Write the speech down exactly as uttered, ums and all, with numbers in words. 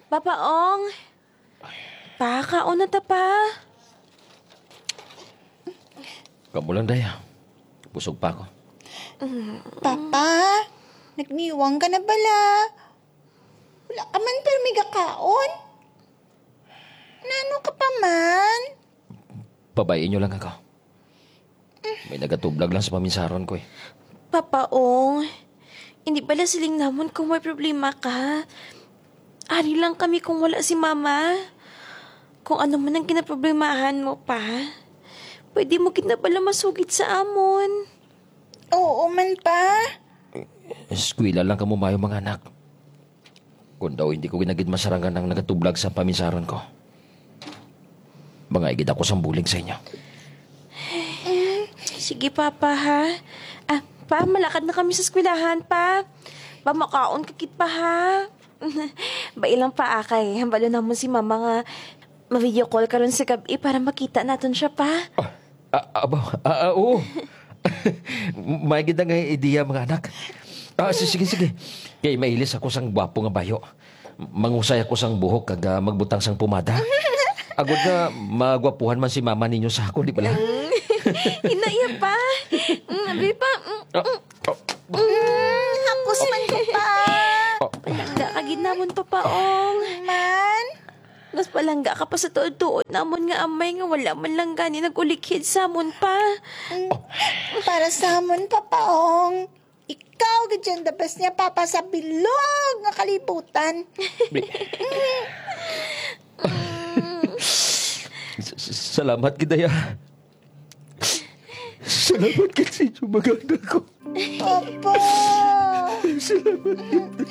Papa Ong, pa, kaon na ta, pa. Kamo lang, day, ah. Busog pa ako. Papa, nagniwang ka na bala? Wala ka man pirmi gakaon? Nano ka pa man? Pabay-i nyo lang ako. May nagatublag lang sa paminsaron ko, eh. Papa Ong, hindi bala siling namon kung may problema ka. Ari lang kami kung wala si Mama. Kung ano man ang kinaproblemahan mo, pa, pwede mo gid na bala masugid sa amon. Oo man, pa. Eskwela lang kamo maayo, mga anak. Kung daw hindi ko ginagid masarangan ang nagatublag sa paminsaron ko, mga igid ako sang bulig sa inyo. Sige, Papa, ha? Ah, pa, malakad na kami sa eskwelahan, pa. Pa, makaon ka gid, pa, ha? Bai lang, pa, ah, kay hambalo namon si Mama nga ma-video call karon sa gab-i para makita naton siya, pa. Ah, ah, aba, ah, ah, oo. May gid nga ideya, mga anak. Ah, si-, sige, sige. Kay mailis ako sang gwapo nga bayo. Mangusay ako sang buhok kag, ah, magbutang sang pomada. Agod nga magwapuhan man si mama ninyo sa ako, di bala? Mm. Hinaya pa. Mm, abi pa. Mm, Ah, mm. Ah, Mm, hapos man ko pa. Palangga ka gid namon, Papa Ong. Man? Mas palangga ka pa sa tuod-tuod namon nga amay nga wala man lang gani nag-ulikhid sa amon pa. Mm, para sa amon, Papa Ong. Ikaw gid ang the best niya, Papa, sa bilog nga kalibutan. Bi- S-, s-, salamat gid, Daya. Salamat gid sa inyo, mga anak ko. Papa! Salamat gid.